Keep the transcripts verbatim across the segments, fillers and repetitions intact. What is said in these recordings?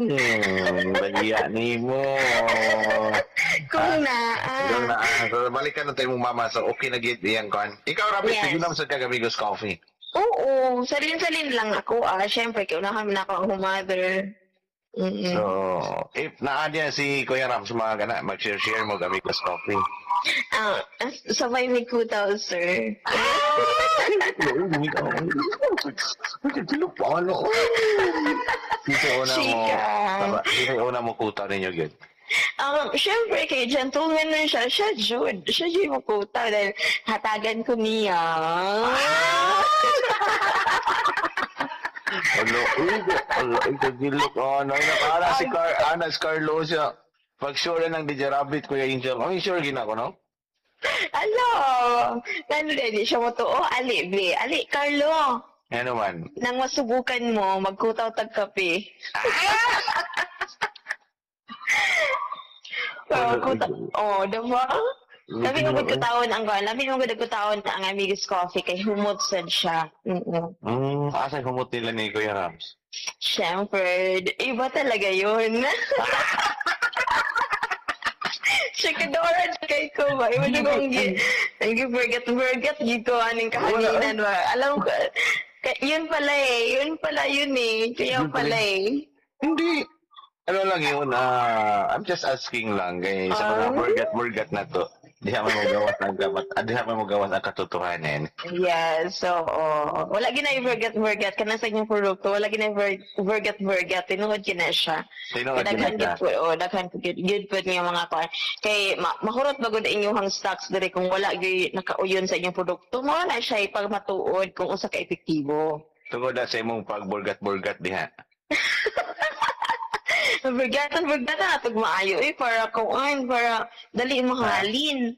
Hmm, bagiya nimo. Kung na, ah. Kung na, ah. So, balikan na tayo mong mama. So, okay na gid iyang kuan. Ikaw, Rabbit, Yes. sige naman sa kag-Amigos Coffee. Oo, salin-salin lang ako ah. Siyempre, kaya unahan na ako ang mother. Mm-mm. So, if naa diya si Kuya Rams, mga gana, mag-share-share mo Amigos Coffee. Ah, sabay may kutaw, sir. Sino una mo, Chika. sino una mo kutaw ninyo, gyud? Um, syempre, kay gentleman na siya, siya Jude. Siya Jude mo kutaw dahil hatagan ko niya. Ano, uy, ano, kagilok. Oh, no, ana si Car, ana si Carlo siya. Pag sure na ng D J Rabbit, Kuya Angel. Ay, sure gina ko, no? Alo, ano di siya mo to? Oh, ali, be. Ali, Carlo. Ano man? Nang masubukan mo, magkutaw tag kape. So, kuta oh, diba? Labi mo kutaon ang kuan, labi mo gud kutaon ang Amigos Coffee kay humot sad siya. Mm. Mm, asa humot nila ni Kuya Rams? Siyempre, iba talaga yun. Chikadora kay ko ba? Iba na kong gi, gi forget forget gi ko aning kahanginan ba? Alam ko, yun pala eh, yun pala yun eh, kaya pala eh. Hindi. Ano lang yun, ah, I'm just asking lang kay sa mga Ah. burgat-burgat na to. Di naman mo gawas ang gamat, ah, di naman mo gawas ang katotohanan. Yes, so, oh, wala ginay burgat burgat kana sa inyong produkto, wala ginay burgat burgat, tinuod gina siya. Tinuod gina Daghan siya. gid po, oh, daghan gid gid po niya mga kuan. Kay ma mahurot ba gud inyong stocks diri kung wala gyud nakauyon sa inyong produkto, mao na siya ipagmatuod kung usa ka epektibo. Tungod na sa imong pagburgat-burgat diha. Burgatan burgatan atog maayo eh para kuan para dali mahalin.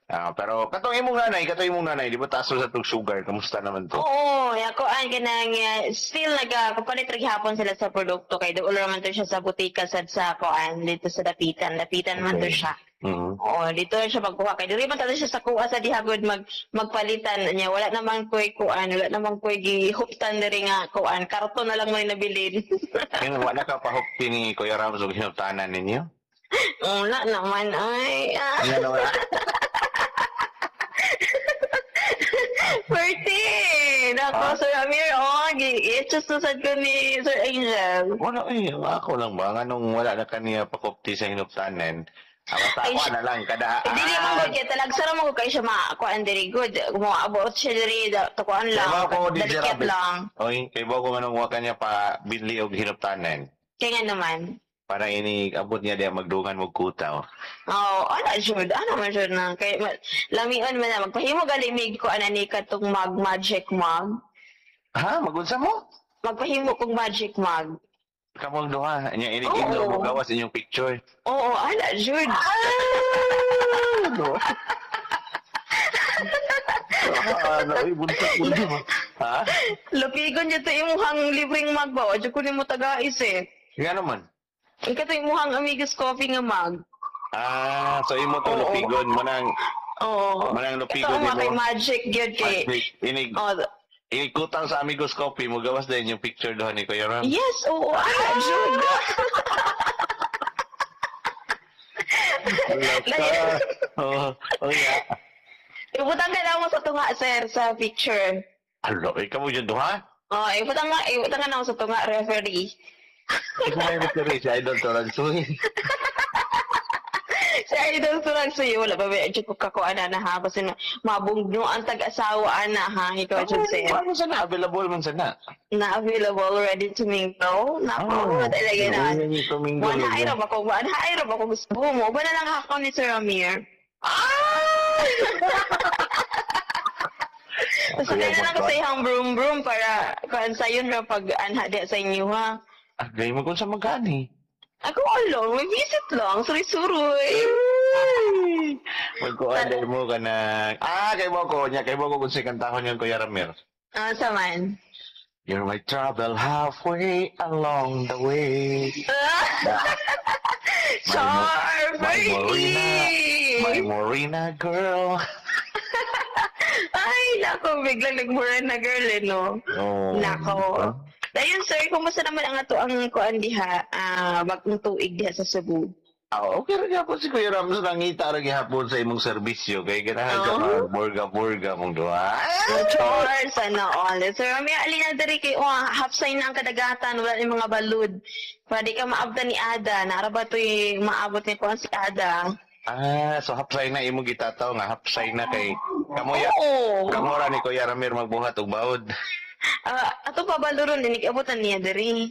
Ah, pero katong imong nanay, katong imong nanay, di ba taas sa tug sugar, kamusta naman to? Oo, ya kuan kanang uh, still naga kapalit ra gihapon sila sa produkto kay duol ra man to siya sa butika sad sa kuan dito sa Dapitan, Dapitan man to Okay. siya. Mhm. Oo, dito siya pagkuha kay diri man tato siya sa kuha sa dihagod mag magpalitan niya. Wala naman koy kuan, wala naman koy gihuptan diri nga kuan, karton na lang may nabilin. Ngayon, wala ka pahupti ni Kuya Rams og hinuptanan ninyo? Wala naman ay. Ah. Ano naman? Pwerte! Nako, Ah? Sir Amir, oh, gi-itchos na sad ko ni Sir Angel. Wala eh, ako lang ba? Nganong wala na kaniya pakupti sa hinuptanan? Ah, basta Ay, ako na lang, kada... Eh, dili man gud kay talagsara mo kay siya makuan diri good. Mo abot siya diri da- tukuan lang. Kaya ba ko, D J Dalikit Rabbit? lang. Oy, kay ba ko nganong wa kanya pa binli og hinuptanan? Kaya nga naman. Para ini abot niya diya magdungan mo kutaw. Oh, ana jud, ana man jud na kay ma, lamion man na magpahimo galimig ko ana ni katong mag magic mug. Ha, magunsa mo? Magpahimo kog magic mug. Kamong duha, nya ini Oo. ginoo mo gawas inyong picture. Oo, ana jud. Ano? Ah, ano, ay, buntot mo. Ha? Lupigon jud to imong libreng mug ba? Wa jud ko nimo tagais eh. Nga naman. Ikaw to imuhang Amigos Coffee nga mug. Ah, so imo to Oo. lupigon mo nang Oo. Manang lupigon Ito ang mga nimo. kay magic gyud kay. Magic. Inig Oh, inikutang sa Amigos Coffee mo gawas din yung picture doon ni Kuya Ram. yes, oo, ana jud. Wala ka. Oh, oh yeah. Ibutang ka na mo sa tunga, sir, sa picture. Alo, ikaw mo dyan duha? Oh, ibutang nga, ibutang ka na mo sa tunga, referee. Ikaw may referee si Idol Toragsoy. Si Idol Toragsoy, wala ba ba, ko kakuan na ha, kasi na, mabungno ang tag-asawa na ha, ikaw dyan, sir. Ano sana? Available man sana. Na available, ready to mingle. Nako, Oh, talaga na. Ready to mingle. One high ra ba ko, one high ra ba ko gusto mo? Ba na lang ako ni Sir Amir? Ah! Basta kaya na lang ko sa iyang broom broom para kuan sayon ra pag anha di sa inyo ha. Agay mo kung sa magani. Ako alo, may visit lang, suroy-suroy. Magkuan dahil mo ka na. Ah, kay mo ko niya, kay mo ko kung sa kantahon yung Kuya Ramir. Ah, saman. You're my trouble halfway along the way. Char, My Morena, my Ferdy! Morena girl. Ay, nako, biglang nagmura na girl eh, no? Oh. Nako. Dayon sir, kumusta naman ang ato ang kuan diha, ah, bagong tuig diha sa Cebu? Ah, okay ra gyapon si Kuya Rams, nangita ra gihapon sa imong serbisyo kay ganahan ka Oh. mag burga-burga mong duha. Char, sana all. Sir, may alin na diri kay oh, half sign na ang kadagatan, wala ni mga balud. Pwede ka maabdan ni Ada. Naara ba to'y maabot ni kuan si Ada? Ah, so hapsay na imong gitataw nga hapsay na kay kamoya. Oo. Kamo ra ni Kuya Ramir magbuhat og baod. Ah, ato pa baluron din abutan niya diri.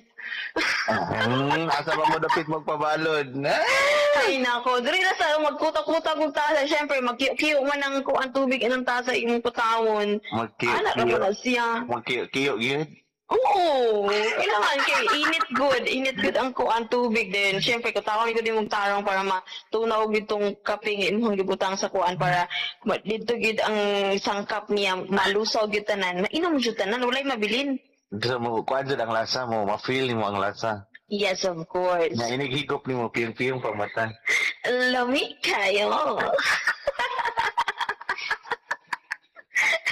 Hmm, asa ba mo dapit magpabalod? Ah! Ay nako, diri na sa magkuta-kuta kog tasa. Syempre magkiyo-kiyo man ang kuan tubig inang tasa imong kutawon. Ana ra Magkiyo. ba na siya? Magkiyo gyud. Oo, kailangan kay init good, init good ang kuan tubig din. Syempre kutawan ko din mong tarong para matunaw gid tong kape nga imong gibutang sa kuan para ma- didto gid ang sangkap niya malusaw gid tanan. Mainom jud tanan, walay mabilin. Gusto mo kuan jud ang lasa mo, ma-feel nimo ang lasa. Yes, of course. Nga inighigop nimo piyong-piyong pang mata. Lami kayo.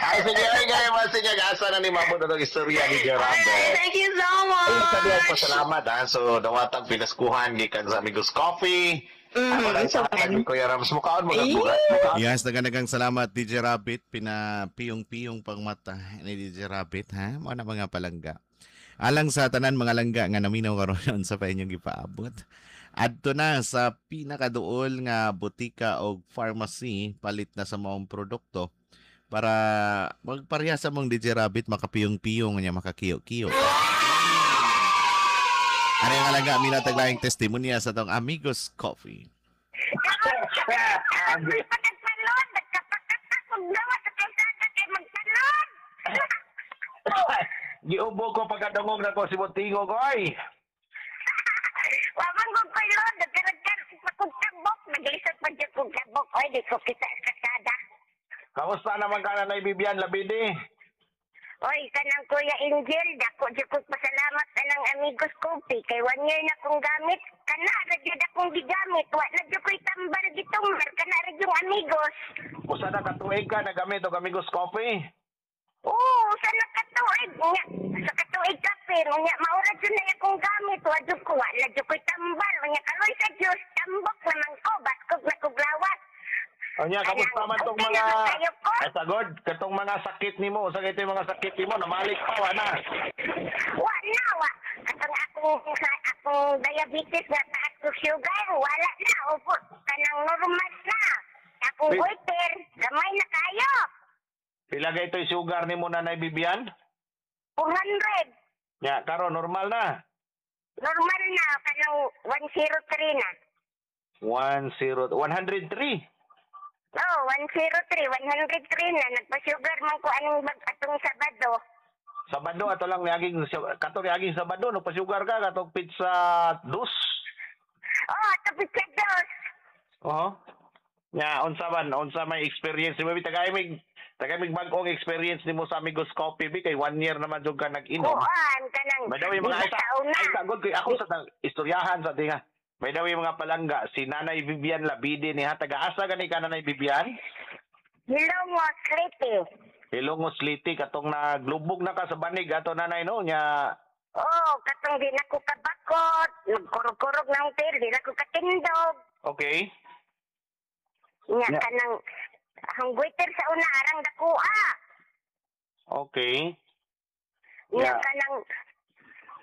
Ay, sige, ay, gaya, sige, asa na ni Mamo na istorya ni Gerardo. Alright, thank you so much. Ay, sabi ako, pasalamat, ha. So, dawatang pinaskuhan, gikan sa Amigos Coffee. Mm, Ako lang so sa fun. Kuya Rams, mukhaan mo bugat. Mukhaan. Yes, daghang salamat D J Rabbit, pinapiyong-piyong pang mata ni D J Rabbit, ha. Mao na mga palangga. Alang sa tanan mga langga nga naminaw karon sa pa inyong gipaabot. Adto na sa pinakaduol nga botika o pharmacy, palit na sa maong produkto para magpareha sa mong D J Rabbit, makapiyong-piyong niya, makakiyo-kiyo. Ano yung alangga, mina taglayang testimonya sa tong Amigos Coffee. Nagpalod, nagkapakatakog gawa sa kalsada kay magpalod. Giubo ko pagkadungog na ko si Montingo ko, ay. Wamang kong palod, nagkaragkar kong tabok, naglisod pa dyan kong tabok. Oy, di ko kita sa kalsada. Kamusta naman ka na Bibian Labidi? Oy, kanang Kuya Angel, dako dyan kong pasalamat anang Amigos Coffee. Kay one year na kong gamit, kana ra jud akong gigamit. Wa na jud ko'y tambal gitumbar, kana ra yung Amigos. Usa na katuig ka nagamit og Amigos Coffee? Oo, sa nakatuig nga, sa katuig kape, unya maura jud na akong gamit, wa jud ko, wa na jud ko'y tambal, unya kaloy sa Dios, tambok naman ko, baskog na kog lawas. Unya, kamusta man tong Okay mga naman kayo ko? Ay, sagod, katong mga sakit nimo, usa kay mga sakit nimo namalik pa wa na. Wa na, wa. Katong akong, akong diabetes nga taas ko sugar, wala na, opo, kanang normal na. Akong Wait. goiter, gamay na kayo. Pila kay ito'y sugar nimo Nanay Bibian? four hundred. Nya, karon normal na. Normal na, kanang one zero three na. ten, one hundred three. Oo, one zero three, one hundred three na. Nagpa-sugar man ko anong bag atong Sabado. Sabado ato lang niaging kato niaging Sabado no pa-sugar ka katong pizza dos. Oh, ato pizza dos. Oo. Nya unsa man unsa may experience nimo bi tagay mig tagay mig bag-ong experience nimo sa Amigos Coffee bi kay one year naman jud ka nag-inom. Kuan, kanang May daw yung mga di ay, ba sa una? ay sagod kay ako sa tang- istoryahan sa tinga. May daw yung mga palangga si Nanay Vivian Labide ni ha, taga-asa gani ka, Nanay Vivian? Hilongos, Leyte. Hilongos Leyte, katong naglubog na ka sa banig ato, nanay, no nya? Oh, katong di na ko kabakot, nagkurog-kurog na ang tail, di na ko katindog. Okay. Nya Nya. kanang ang goiter sa una arang dakua. Okay. Nya Yeah. kanang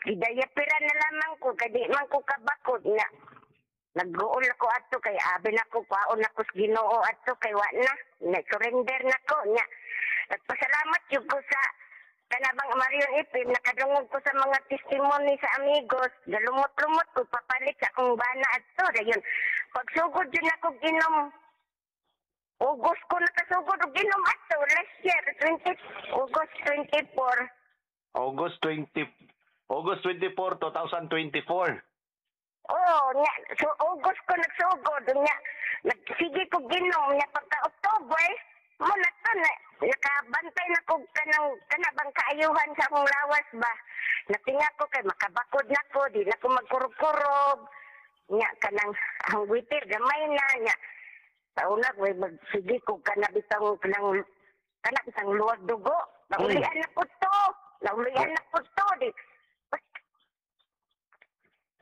gidayapira na lamang ko kay di man ko kabakot na. Nagguol ako ato kay abi na ko kwaon ako sa Ginoo ato kay wa na na surrender na ko. Nya nagpasalamat jud ko sa kanabang Marion Ipim, nakadungog ko sa mga testimony sa Amigos, galumot-lumot ko papalit sa akong bana ato. Dayon pagsugod jud nako ginom, August ko nakasugod og ginom ato last year, twenty August twenty-four. August twenty August twenty-four, twenty twenty-four. Oo, nya, so August ko nagsugod, nya, nagsige ko ginom, nya pagka October, mo na to, na, nakabantay na ko kanang, kanabang kaayuhan sa akong lawas ba. Natinga ko kay makabakod na ko, di na ko magkurog-kurog. Nya, kanang, ang witir, gamay na, nya. Sa una, way magsige ko kanabitang, kanang, kanabitang luwag dugo. Naulian na ko to, naulian na ko to, di.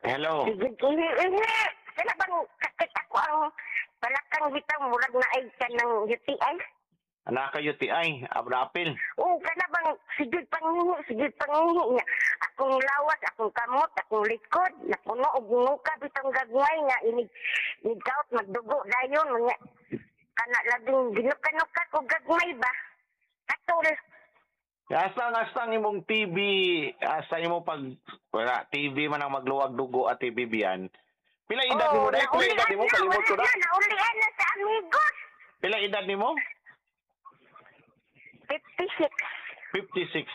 Hello. Sige, ihi, ihi. Kana bang sakit ako ang balakang bitaw murag na ay ka ng U T I. Anak ka U T I, abrapil. Oo, kana bang sige pangihi, sige pangihi niya. Akong lawas, akong kamot, akong likod, napuno og nguka bitong gagmay nga inig inig magdugo dayon nga kana labing ginuka-nuka ko gagmay ba. Katol. Asa nga asa ang imong T B, asa imo pag wala T B man ang magluwag dugo at T B biyan. Pila edad nimo dai? Pila edad nimo? Kalimot ko na. Na. Naulian na sa amigos. Pila edad nimo? fifty-six. fifty-six.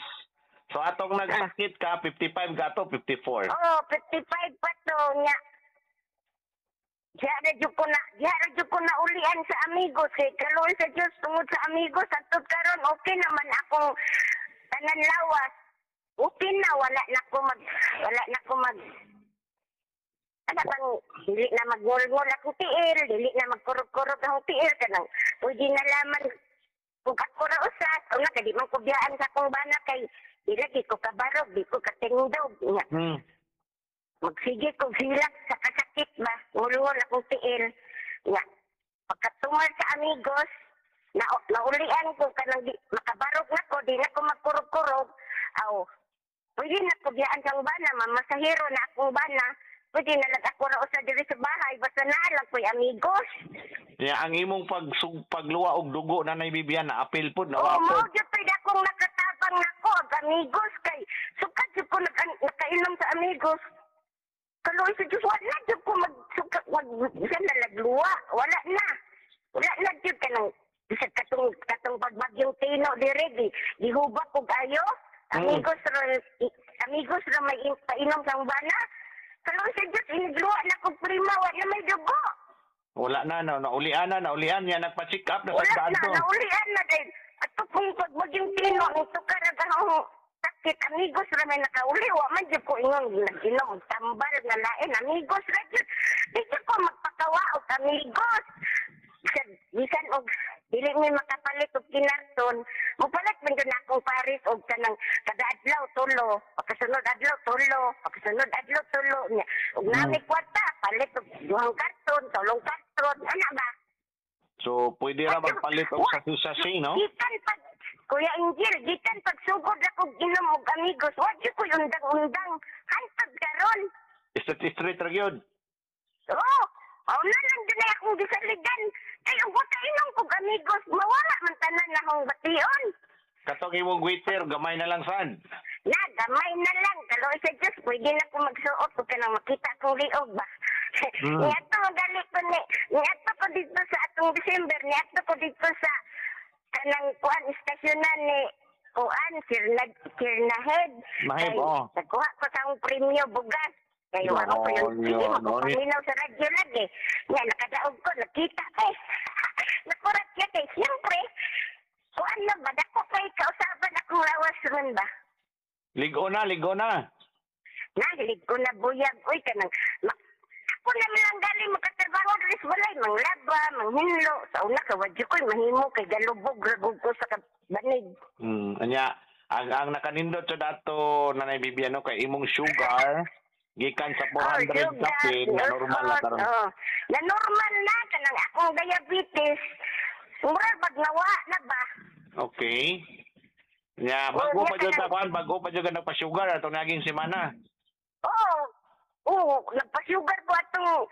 So atong nagsakit ka fifty-five ka to fifty-four. Oh, fifty-five pa to nga. Diya na jud ko na, diya na jud ko na ulian sa amigos kay kaluoy sa Dios tungod sa amigos hangtod karon okay naman akong tanan lawas. Okay na, wala na ko mag wala na ko mag ano bang dili na magngol-ngol akong tiil, dili na magkurog-kurog akong tiil, kanang pwede na laman kung ako ra usa, una kay di man ko biyaan sa akong bana kay di lagi ko kabarog, di ko katindog nga. Hmm. Magsige ko hilak sa kasakit ba, ngulngol akong tiil. Nga, pagkatumal sa amigos, na naulian ko kanang di, makabarog na ko, di na ko magkurog-kurog, aw, pwede na ko biyaan sang bana, mamasahero na akong bana, pwede na lang ako ra usa diri sa bahay, basta naa lang ko'y amigos. Ya ang imong pag pagluwa og dugo na Bibian na apil pod na Oo, wa mao pod. gyud pwede akong nakatabang nako og amigos kay sukad jud ko nag nakainom sa amigos. Kaluoy sa Diyos, wala jud ko mag suka mag bisan na lagluwa, wala na. Wala na jud kanang bisag katong katong pagbagyong Tino dire di gihubak og ayo. Mm. Amigos ra i- amigos ra may in- painom sang bana. Kaluoy sa Diyos, inigluwa na kog prima, wala na may dugo. Wala na na naulian na naulian niya nagpa-check up na Wala sa na, to. naulian na dahil. Ato kung pagbagyong Tino, ang tukar ang sakit, amigos ra may nakauli, wa man jud ko ingon, nag-inom, og tambal nga lain, amigos ra jud. Di jud ko magpakawa og amigos. Bisan, bisan og dili mi makapalit og kinarton, mupalit man jud na akong pares og kanang kada adlaw tulo, pagkasunod adlaw tulo, pagkasunod adlaw tulo nya. Og nami kwarta, palit og duhang karton, tulong karton, ana ba? So pwede ra magpalit og sa sachet, no? Gikan pag Kuya Angel, gikan pag sugod ako inom og amigos, wa jud ko'y undang-undang. Hantod karon. Straight straight ra gyud. Oo, oh, na lang din ay akong gisaligan. Kay ang buta inom kog amigos, mawala man tanan na akong bation. Katong imong waiter gamay na lang sad. Na, gamay na lang. Kaluoy sa Diyos, pwede na ko magsuot kung kanang makita akong liog ba. Mm. Niadto gali ko ni, niadto ko dito sa atong December, niadto ko dito sa kanang kuan istasyonan ni kuan Sir Nag Sir Nahed. Naheb, Kay oo. nagkuha ko sa akong premyo bugas. Kay wa ko pa yung Yo, sige yo, magpaminaw sa radyo lagi. Nga nakadaog ko nakita eh. Nakurat siya kay siyempre kuan na ba dako kay kausaban akong lawas ron ba. Ligo na, ligo na. Nahilig ko na buyag uy kanang ma- ako na lang gali makatrabaho diri sa balay manglaba manghinlo sa una ka wadyo ko'y mahimo kay galubog ragog ko sa banig. Hmm, anya ang ang nakanindot sa dato Nanay Bibian no kay imong sugar gikan sa four hundred Oh, sugar, kapin na normal na karon. Oh, na normal na kanang akong diabetes murag pag nawa na ba. Okay. Nya bago Oh, pa jud nya sa kuan, bago pa jud ka nagpa-sugar atong naging semana. Oo oo nagpa-sugar ko atong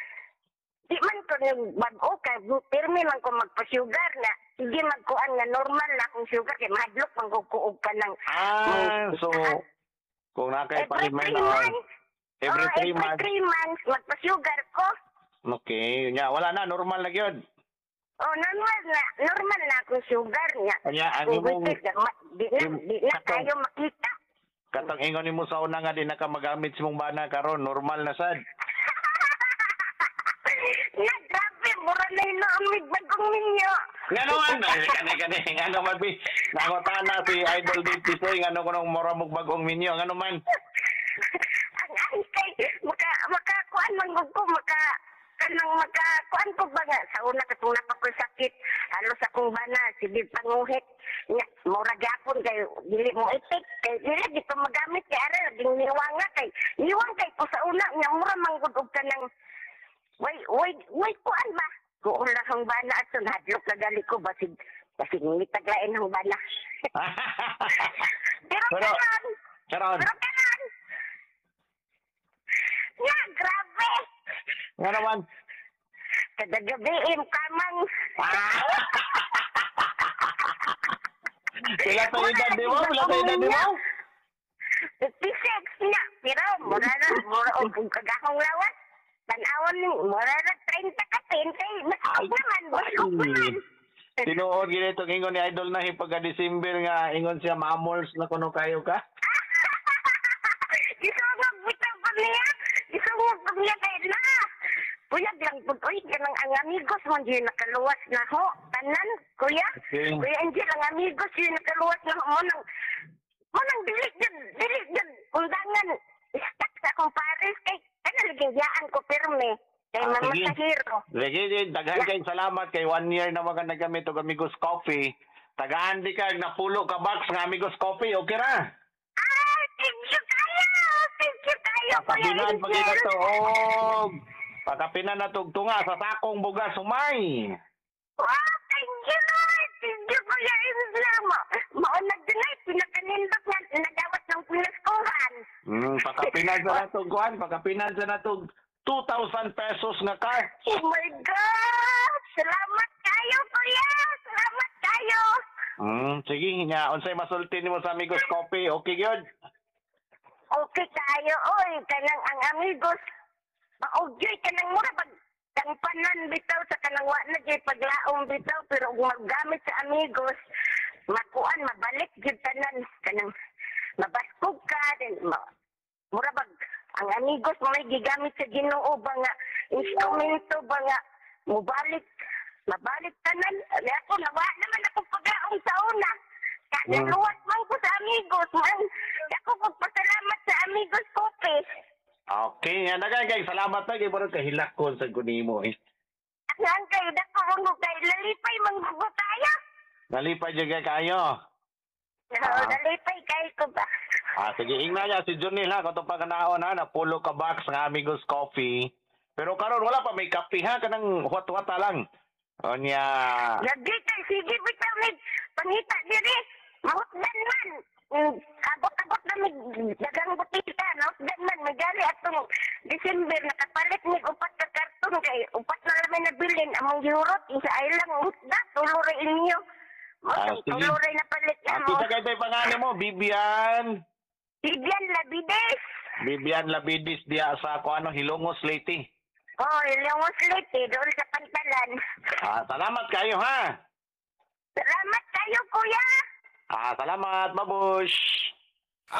di man ko nag bag-o kay pirmi man ko magpa-sugar na sige magkuan nga normal na akong sugar kay mahadlok man ko og kanang Ah, so kung na kay every three palimen months. Every Oh, three every months. three months magpa-sugar ko. Okay, nya wala na, normal na gyud. Oh, normal na normal na akong sugar niya. Anya ang Kung imong witik, ma- di na im- di na katong- kayo makita. Katong ingon nimo sa una nga di na ka magamit sa imong bana karon, normal na sad. Na grabe, mura na hinuamig bagong ninyo. Ngano man, ay, kani kani ngano man bi. Nangutana si Idol Dave Tisoy ngano kunong mura mog bagong minyo, ngano man. Ang ang kay maka makakuan man gud ko maka kanang makakuan ko ba nga sa una katong napakoy sakit halos akong bana sige panguhit. Nya, mura gyapon kay dili mo ipik kay dili di ko magamit kay ara laging niwang nga kay niwang kay ko sa una nya mura manggod og kanang way way way kuan ba kuon lang ang bana at hadlok na gali ko basig basig mitaglain ang bana pero Pero- karon Karon, pero karon nya grabe nga naman. Kada gabi kamang Pila ta edad di mo? Pila ta edad di mo? fifty-six niya. Pero mura na, mura og kagahong lawas. Tan-awon ni mura na thirty ka twenty. Baskog naman, baskog naman. Tinuod gid itong ingon ni Idol na pagka December nga ingon siya mamols na kuno kayo ka. Isungog bitaw pa niya. Isungog pa niya kay na. Puyag lang pud oy kanang ang amigos man jud nakaluwas na ho. Tanan, kuya. Okay. Kuya Angel, ang amigos yun nakaluwas na ho. Mo nang mo nang dili jud, dili jud undangan stuck sa akong pares kay kana lagi ko pirmi. Kay Ah, mama sige. sa hero. Sige, sige, daghan kayong salamat kay one year na mga nagamit og Amigos Coffee. Tagaan di ka napulo ka box nga Amigos Coffee, okay ra? Ah, thank you kayo. Thank you kayo, Kuya Pakapinan pag Angel. to og pakapinan na tog tunga sa sakong bugas humay. Wow, thank you, Lord. Thank you, Kuya Angel. Ma maunag din ay, pinakanindot nga nagawat ng pinaskuhan. Mm, pakapinan sa natog kuan, pakapinan sa natog two thousand pesos nga car. Oh my God! Salamat kayo, Kuya! Salamat kayo! Mm, sige nga unsay masulti nimo sa Amigos Coffee, okay gyud? Okay kayo, oy. Kanang ang amigos, maugyoy kanang mura pag tangpanan bitaw sa kanang wa na gyud paglaom bitaw pero kung maggamit sa amigos makuan mabalik gyud tanan kanang mabaskog ka then ma, mura bag ang amigos mo may gigamit sa Ginoo ba nga instrumento ba nga mobalik mabalik tanan. Ani ako nawa naman ako paglaom sa una. Kanaluwat man ko sa amigos man. Ako pagpasalamat sa Amigos Coffee. Okay, nga daghan kay salamat na kay murag kahilakon sa kunimo eh. Ang kayo dako mo kay lalipay manggugo tayo. Nalipay jud kay kayo. Ah. Nalipay kay ko ba. Ah, sige, ingna niya si Junil ha, katong pagkanaon ha, napulo ka box nga Amigos Coffee. Pero karon wala pa may kape ha, kanang huwat-huwata lang. O niya, Lagi kay sige bitaw mig pangita diri. Mahutdan man. Mm, Abot-abot na mig dagang butika, nahutdan man magali atong December nakapalit mig upat ka karton kay upat na lang may nabilin among gihurot isa ay lang hutda tulo ra inyo. Mo Ah, sige. tulo ra napalit ah, na mo. kita kay pangalan mo, Bibian. Bibian Labides. Bibian Labidis diya sa kuano Hilongos Leyte. Oh, Ilongos Leyte doon sa Pantalan. Ah, salamat kayo ha. Salamat kayo, kuya. Ah, salamat, babush.